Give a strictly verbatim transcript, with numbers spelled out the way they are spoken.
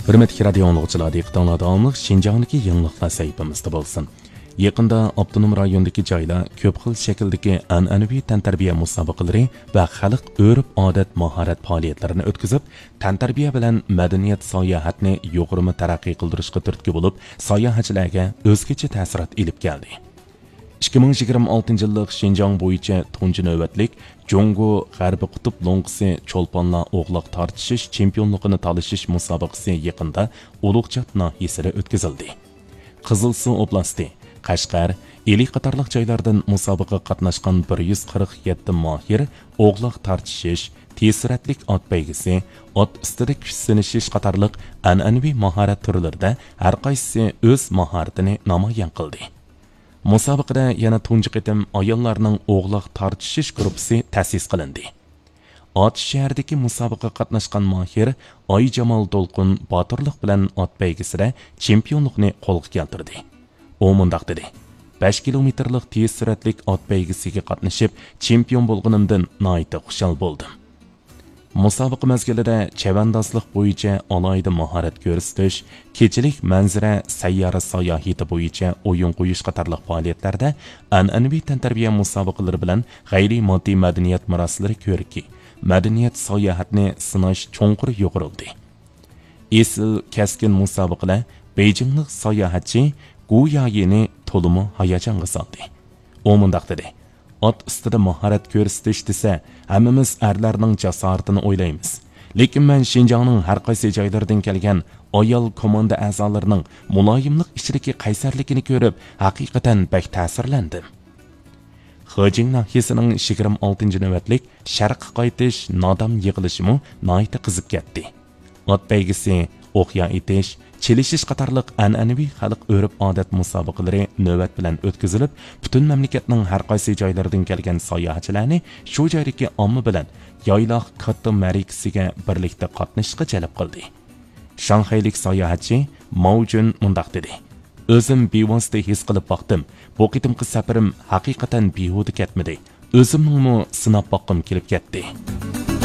ھۆرمەتلىك رادىيو ئاڭلىغۇچىلار، دىققىتىڭلاردا ئاڭلىق شىنجاڭدىكى يېڭىلىقلار سەھىپىمىزدە بولسۇن. يېقىندا ئاپتونوم رايوندىكى جايلار كۆپ خىل شەكىلدىكى ئەنئەنىۋى تەنتەربىيە مۇسابىقىلىرى ۋە خەلق ئۆرپ-ئادەت، ماھارەت پائالىيەتلىرىنى ئۆتكۈزۈپ، تەنتەربىيە بىلەن مەدەنىيەت ساياھەتنى يۇغۇرما تەرەققىي قىلدۇرۇشقا تۈرتكە بولۇپ، ساياھەتچىلەرگە ئۆزگىچە تەسىرات ئېلىپ كەلدى. ئىككى مىڭ يىگىرمە ئالتىنچى يىللىق شىنجاڭ بويىچە تۇنجى نۆۋەتلىك جۇڭگو غەربىي قۇتۇپ لوڭقىسى چولپانلار ئوغلاق تارتىشىش چېمپىيونلۇقىنى تالىشىش مۇسابىقىسى يېقىندا ئۇلۇغچات ناھىيەسىدە ئۆتكۈزۈلدى. قىزىلسۇ ئوبلاستى، قەشقەر، ئىلى قاتارلىق جايلاردىن مۇسابىقىگە قاتناشقان بىر يۈز قىرىق يەتتە ماھىر ئوغلاق تارتىشىش، تېز سۈرئەتلىك ئات بەيگىسى، ئات ئۈستىدە كۈچ سىنىشىش قاتارلىق ئەنئەنىۋى ماھارەت تۈرلىرىدە ھەرقايسىسى ئۆز ماھارىتىنى نامايان قىلدى. مۇسابىقىدە يەنە تۇنجى قېتىم ئاياللارنىڭ ئوغلاق تارتىشىش گۇرۇپپىسى تەسىس قىلىندى. ئاتۇش شەھىرىدىكى مۇسابىقىگە قاتناشقان ماھىر ئايجامال دولقۇن باتۇرلۇق بىلەن ئات بەيگىسىدە چېمپىيونلۇقنى قولغا كەلتۈردى. ئۇ مۇنداق دېدى: «بەش كىلومېتىرلىق تېز سۈرئەتلىك ئات بەيگىسىگە قاتنىشىپ، چېمپىيون بولغىنىمدىن ناھايىتى خۇشال بولدۇم.» مۇسابىقە مەزگىلىدە چەۋەندازلىق بويىچە ئالاھىدە ماھارەت كۆرسىتىش، كېچىلىك مەنزىرە سەييارە ساياھىتى بويىچە ئويۇن قويۇش قاتارلىق پائالىيەتلەردە ئەنئەنىۋى تەنتەربىيە مۇسابىقىلىرى بىلەن غەيرىي ماددىي مەدەنىيەت مىراسلىرى كۆرىكى، مەدەنىيەت ساياھەتنى سىناش چوڭقۇر يۇغۇرۇلدى. ئېسىل، كەسكىن مۇسابىقىلەر بېيجىڭلىق ساياھەتچى گۇ يايىنى تولىمۇ ھاياجانغا سالدى. ئۇ مۇنداق دېدى: «ئات ئۈستىدە ماھارەت كۆرسىتىش دېسە، ھەممىمىز ئەرلەرنىڭ جاسارىتىنى ئويلايمىز. لېكىن مەن شىنجاڭنىڭ ھەر قايسى جايلىرىدىن كەلگەن ئايال كوماندا ئەزالىرىنىڭ مۇلايىملىق ئىچىدىكى قەيسەرلىكىنى كۆرۈپ، ھەقىقەتەن بەك تەسىرلەندىم.» خېجىڭ ناھىيەسىنىڭ يىگىرمە ئالتىنچى نۆۋەتلىك شەرققە قايتىش نادام يىغىلىشىمۇ ناھايىتى قىزىپ كەتتى. ئات بەيگىسى، ئوقيا ئېتىش، چېلىشىش قاتارلىق ئەنئەنىۋى خەلق ئۆرپ-ئادەت مۇسابىقىلىرى نۆۋەت بىلەن ئۆتكۈزۈلۈپ، پۈتۈن مەملىكەتنىڭ ھەر قايسى جايلىرىدىن كەلگەن ساياھەتچىلەرنى شۇ جايدىكى ئامما بىلەن يايلاق كاتتا مەرىكىسىگە بىرلىكتە قاتنىشىشقا جەلپ قىلدى. شاڭخەيلىك ساياھەتچى ماۋجۈن مۇنداق دېدى: «ئۆزۈم بىۋاسىتە ھېس قىلىپ باقتىم. بۇ قېتىمقى سەپىرىم ھەقىقەتەن بىھۇدە كەتمىدى. ئۆزۈمنىڭمۇ سىناپ باققۇم كېلىپ كەتتى.»